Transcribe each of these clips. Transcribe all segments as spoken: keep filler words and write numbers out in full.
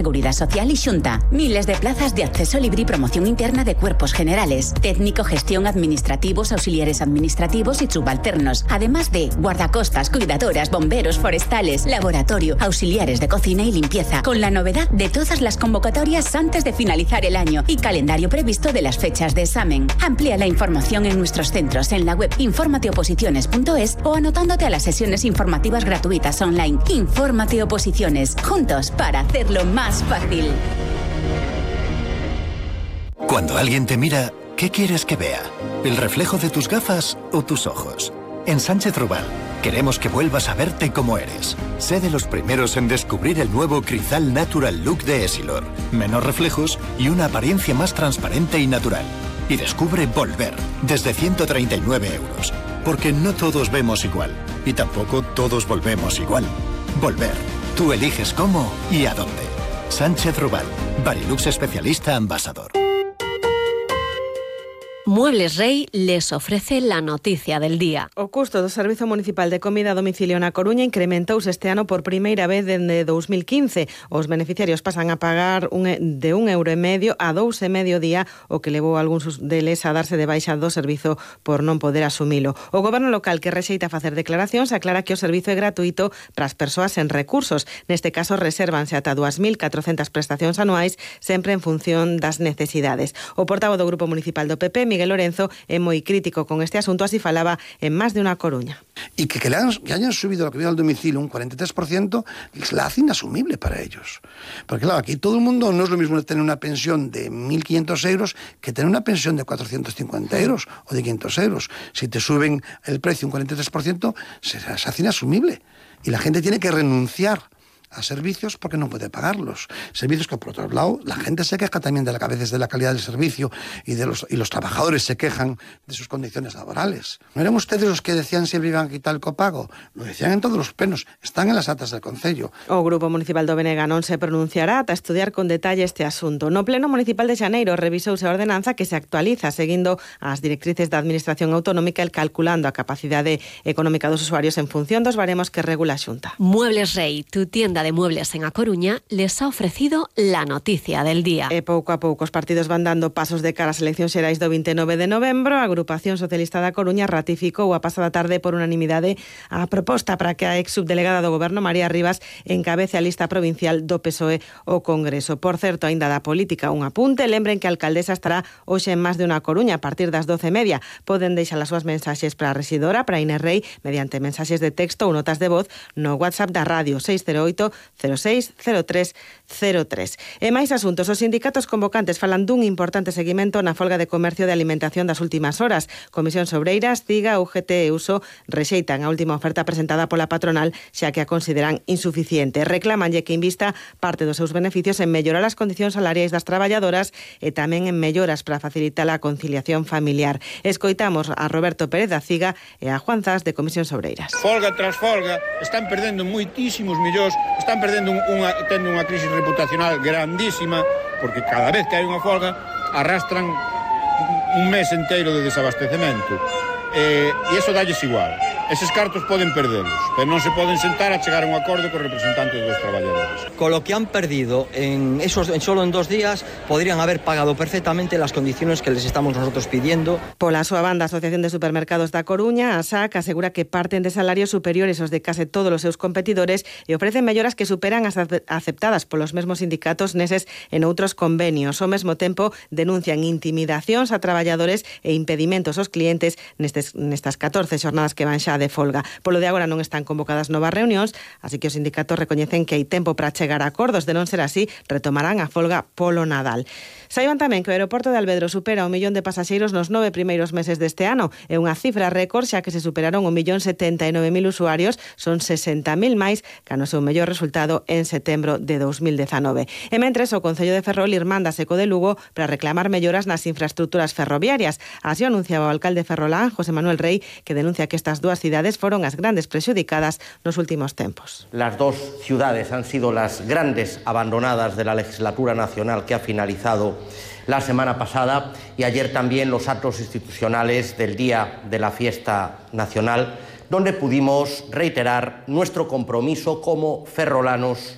Seguridad Social y Xunta. Miles de plazas de acceso libre y promoción interna de cuerpos generales, técnico, gestión, administrativos, auxiliares administrativos y subalternos. Además de guardacostas, cuidadoras, bomberos, forestales, laboratorio, auxiliares de cocina y limpieza. Con la novedad de todas las convocatorias antes de finalizar el año y calendario previsto de las fechas de examen. Amplía la información en nuestros centros en la web infórmate oposiciones punto es o anotándote a las sesiones informativas gratuitas online. Infórmate Oposiciones. Juntos para hacerlo más fácil. Cuando alguien te mira, ¿qué quieres que vea? ¿El reflejo de tus gafas o tus ojos? En Sánchez Rubal queremos que vuelvas a verte como eres. Sé de los primeros en descubrir el nuevo Crizal Natural Look de Essilor. Menos reflejos y una apariencia más transparente y natural. Y descubre Volver, desde ciento treinta y nueve euros. Porque no todos vemos igual. Y tampoco todos volvemos igual. Volver. Tú eliges cómo y a dónde. Sánchez Rubal, Barilux especialista ambasador. Muebles Rey les ofrece la noticia del día. O custo do Servizo Municipal de Comida a Domicilio na Coruña incrementouse este ano por primeira vez dende dos mil quince. Os beneficiarios pasan a pagar un, de un euro e medio a dous e medio día, o que levou a algúns deles a darse de baixa do servizo por non poder asumilo. O goberno local, que rexeita facer declaracións, aclara que o servizo é gratuito para as persoas sen recursos. Neste caso, resérvanse ata dúas mil catrocentas prestacións anuais, sempre en función das necesidades. O portavoz do Grupo Municipal do P P, Miguel Lorenzo, é moi crítico con este asunto, así falaba en Más de una Coruña. Y que, que, le han, que hayan subido la comida al domicilio un cuarenta y tres por ciento la hace inasumible para ellos. Porque claro, aquí todo el mundo no es lo mismo tener una pensión de mil quinientos euros que tener una pensión de cuatrocientos cincuenta euros o de quinientos euros. Si te suben el precio un cuarenta y tres por ciento, se, se hace inasumible. Y la gente tiene que renunciar a servicios porque no puede pagarlos. Servicios que, por otro lado, la gente se queja también de la, a veces de la calidad del servicio y, de los, y los trabajadores se quejan de sus condiciones laborales. ¿No eran ustedes los que decían siempre iban a quitar el copago? Lo decían en todos los plenos. Están en las actas del Concello. O Grupo Municipal do Benega non se pronunciará ata estudiar con detalle este asunto. No Pleno Municipal de Xaneiro revisouse a ordenanza que se actualiza seguindo as directrices da Administración Autonómica e calculando a capacidade económica dos usuarios en función dos baremos que regula a Xunta. Muebles Rey, tu tienda de muebles en A Coruña, les ha ofrecido la noticia del día. E pouco a pouco os partidos van dando pasos de cara ás eleccións xerais do vinte e nove de novembro. A Agrupación Socialista da Coruña ratificou a pasada tarde por unanimidade a proposta para que a ex subdelegada do Goberno, María Rivas, encabece a lista provincial do P S O E ao Congreso. Por certo, aínda da política un apunte, lembren que a alcaldesa estará hoxe en Más de una Coruña a partir das doce e media. Poden deixar as súas mensaxes para a rexidora, para Inés Rey, mediante mensaxes de texto ou notas de voz no WhatsApp da radio seis cero oito cero seis cero tres cero tres. E máis asuntos, os sindicatos convocantes falan dun importante seguimento na folga de comercio de alimentación das últimas horas. Comisión Obreiras, CIGA, U G T e U S O rexeitan a última oferta presentada pola patronal, xa que a consideran insuficiente. Reclamanlle que invista parte dos seus beneficios en mellorar as condicións salariais das traballadoras e tamén en melloras para facilitar a conciliación familiar. Escoitamos a Roberto Pérez da CIGA e a Juan Zas de Comisión Obreiras. Folga tras folga, están perdendo moitísimos millóns, están perdendo un, unha, tendo unha crisis reputacional grandísima, porque cada vez que hai unha folga arrastran un mes enteiro de desabastecemento. Eh, e iso dalles igual. Eses cartos poden perdelos, pero non se poden sentar a chegar a un acordo cos representantes dos traballadores. Con lo que han perdido en esos en solo en dos días, podrían haber pagado perfectamente las condiciones que les estamos nosotros pidiendo. Pola súa banda, a Asociación de Supermercados da Coruña, a S A C, asegura que parten de salarios superiores aos de case todos os seus competidores e ofrecen melloras que superan as aceptadas polos mesmos sindicatos neses en outros convenios. Ao mesmo tempo, denuncian intimidacións a traballadores e impedimentos aos clientes nestes, nestas catorce xornadas que van xa de folga. Polo de agora non están convocadas novas reunións, así que os sindicatos recoñecen que hai tempo para chegar a acordos. De non ser así, retomarán a folga polo Nadal. Saiban tamén que o aeroporto de Alvedro supera o millón de pasaxeiros nos nove primeiros meses deste ano. É unha cifra récord, xa que se superaron o millón setenta e nove mil usuarios, son sesenta mil máis que no seu mellor resultado en setembro de dos mil dezanove. E mentres, o Concello de Ferrol irmándase co de Lugo para reclamar melloras nas infraestructuras ferroviarias. Así anunciaba o alcalde ferrolán, José Manuel Rey, que denuncia que estas dúas cidades fueron as grandes prexudicadas nos últimos tempos. Las dos ciudades han sido las grandes abandonadas de la legislatura nacional que ha finalizado la semana pasada, y ayer también los actos institucionales del Día de la Fiesta Nacional, donde pudimos reiterar nuestro compromiso como ferrolanos.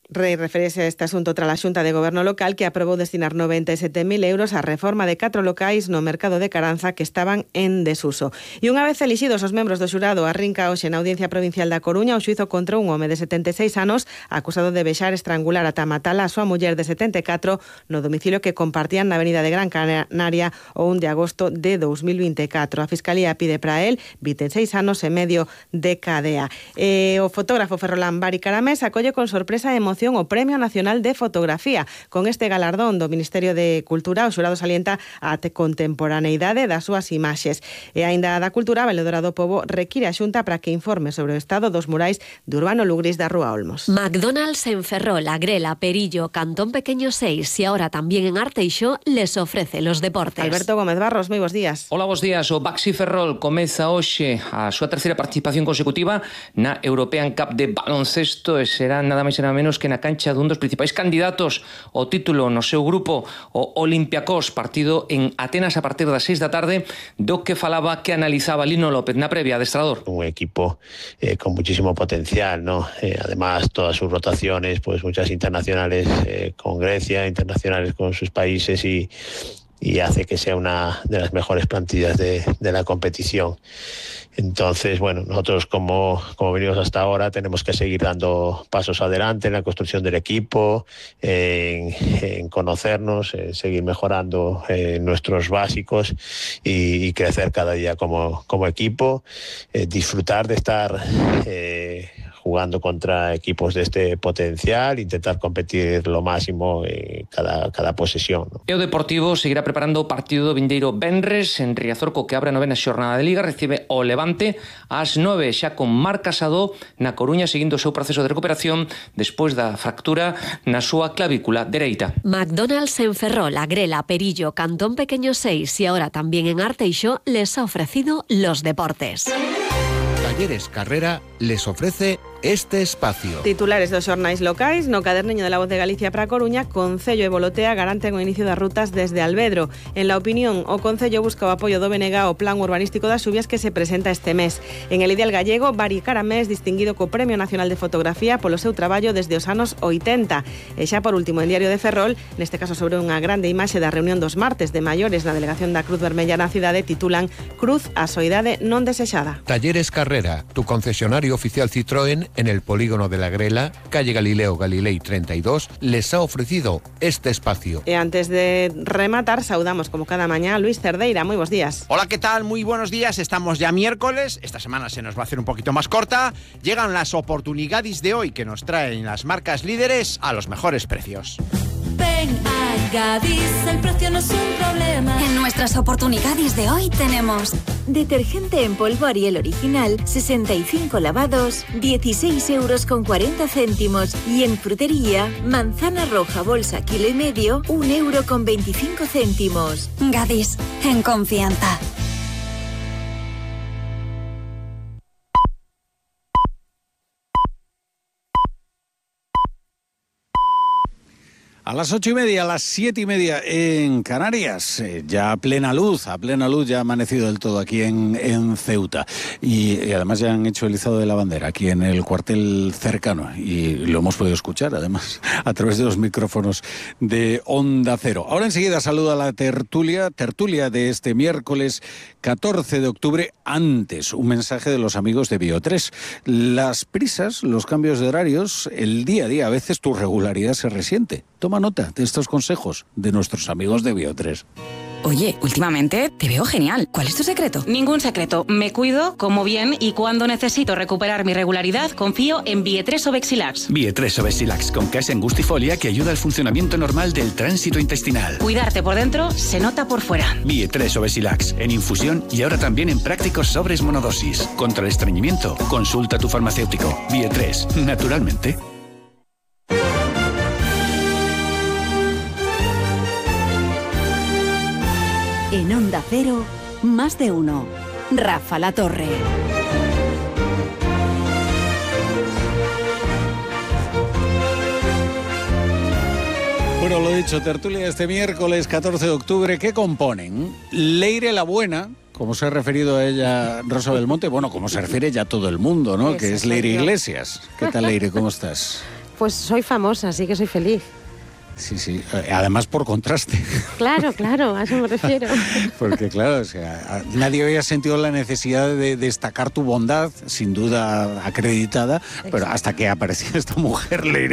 Rei referese a este asunto tras a Xunta de Goberno Local que aprobou destinar noventa e sete mil euros á reforma de catro locais no mercado de Caranza que estaban en desuso. E unha vez elixidos os membros do xurado, arrinca hoxe na Audiencia Provincial da Coruña o xuizo contra un home de setenta e seis anos acusado de vexar, estrangular ata matala a súa muller de setenta e catro no domicilio que compartían na Avenida de Gran Canaria o un de agosto de dous mil vinte e catro. A Fiscalía pide para él vinte e seis anos e medio de cadea. E o fotógrafo ferrolán Bari Caramés acolle con sorpresa e emoción o Premio Nacional de Fotografía. Con este galardón do Ministerio de Cultura, o xurado salienta a contemporaneidade das súas imaxes. E aínda da Cultura, a Valedora do Pobo require a Xunta para que informe sobre o estado dos murais de Urbano Lugris da Rúa Olmos. McDonald's en Ferrol, Agrela, Perillo, Cantón Pequeño seis y ahora también en Arteixo les ofrece los deportes. Alberto Gómez Barros, moi bons días. Hola, bons días. O Baxi Ferrol comeza hoxe a súa terceira participación consecutiva na European Cup de baloncesto e será nada máis e nada menos que na cancha dun dos principais candidatos ao título no seu grupo, o Olympiacos, partido en Atenas a partir das seis da tarde, do que falaba, que analizaba Lino López na previa, adestrador. Un equipo eh, con muchísimo potencial, ¿no? Eh, además, todas sus rotaciones, pues muchas internacionales eh, con Grecia, internacionales con sus países y y hace que sea una de las mejores plantillas de, de la competición. Entonces, bueno, nosotros como, como venimos hasta ahora tenemos que seguir dando pasos adelante en la construcción del equipo, en, en conocernos, en seguir mejorando eh, nuestros básicos y, y crecer cada día como, como equipo, eh, disfrutar de estar eh, jugando contra equipos de este potencial, intentar competir lo máximo en cada, cada posesión, ¿no? E o Deportivo seguirá preparando o partido do vindeiro venres en Riazorco, que abre a novena xornada de Liga, recibe o Levante ás nove, xa con Marc Casado na Coruña seguindo o seu proceso de recuperación despois da fractura na súa clavícula dereita. McDonald's en Ferrol, Agrela, Perillo, Cantón Pequeño seis y ahora también en Arteixo les ha ofrecido los deportes. Talleres Carrera les ofrece este espacio. Titulares dos xornais locais no caderniño de La Voz de Galicia para a Coruña. Concello e Volotea garanten o inicio das rutas desde Alvedro. En La Opinión, o Concello busca o apoio do B N G ao plan urbanístico das Xubias que se presenta este mes. En El Ideal Gallego, Bari Caramés distinguido co Premio Nacional de Fotografía polo seu traballo desde os anos oitenta. E xa por último en Diario de Ferrol, neste caso sobre unha grande imaxe da reunión dos martes de maiores na delegación da Cruz Vermella na cidade, titulan Cruz a soidade non desexada. Talleres Carrera, tu concesionario oficial Citroën en el polígono de la Grela, calle Galileo Galilei treinta y dos, les ha ofrecido este espacio. E antes de rematar, saudamos como cada mañana a Luis Cerdeira. Muy buenos días. Hola, ¿qué tal? Muy buenos días. Estamos ya miércoles. Esta semana se nos va a hacer un poquito más corta. Llegan las oportunidades de hoy que nos traen las marcas líderes a los mejores precios. Ven a Gadis, el precio no es un problema. En nuestras oportunidades de hoy tenemos detergente en polvo Ariel original, sesenta y cinco lavados, dieciséis euros con cuarenta céntimos. Y en frutería, manzana roja bolsa kilo y medio, un euro con veinticinco céntimos. Gadis, en confianza. A las ocho y media, a las siete y media en Canarias, eh, ya a plena luz, a plena luz ya ha amanecido del todo aquí en, en Ceuta. Y, y además ya han hecho el izado de la bandera aquí en el cuartel cercano y lo hemos podido escuchar además a través de los micrófonos de Onda Cero. Ahora enseguida saludo a la tertulia, tertulia de este miércoles catorce de octubre. Antes, un mensaje de los amigos de Bio tres. Las prisas, los cambios de horarios, el día a día, a veces tu regularidad se resiente. Toma nota de estos consejos de nuestros amigos de Bio tres. Oye, últimamente te veo genial. ¿Cuál es tu secreto? Ningún secreto. Me cuido, como bien y cuando necesito recuperar mi regularidad, confío en Bio tres Obexilax. Bio tres Obexilax con casa angustifolia que ayuda al funcionamiento normal del tránsito intestinal. Cuidarte por dentro se nota por fuera. Bio tres Obexilax en infusión y ahora también en prácticos sobres monodosis. Contra el estreñimiento, consulta a tu farmacéutico. Bio tres, naturalmente. En Onda Cero, más de uno. Rafa La Torre. Bueno, lo dicho, tertulia este miércoles catorce de octubre, ¿qué componen? Leire la Buena, como se ha referido a ella Rosa Belmonte, bueno, como se refiere ya todo el mundo, ¿no? Ese que es soy Leire yo. Iglesias. ¿Qué tal, Leire? ¿Cómo estás? Pues soy famosa, así que soy feliz. Sí, sí. Además por contraste. Claro, claro, a eso me refiero. Porque claro, o sea, nadie había sentido la necesidad de destacar tu bondad, sin duda acreditada, exacto, pero hasta que apareció esta mujer, Leire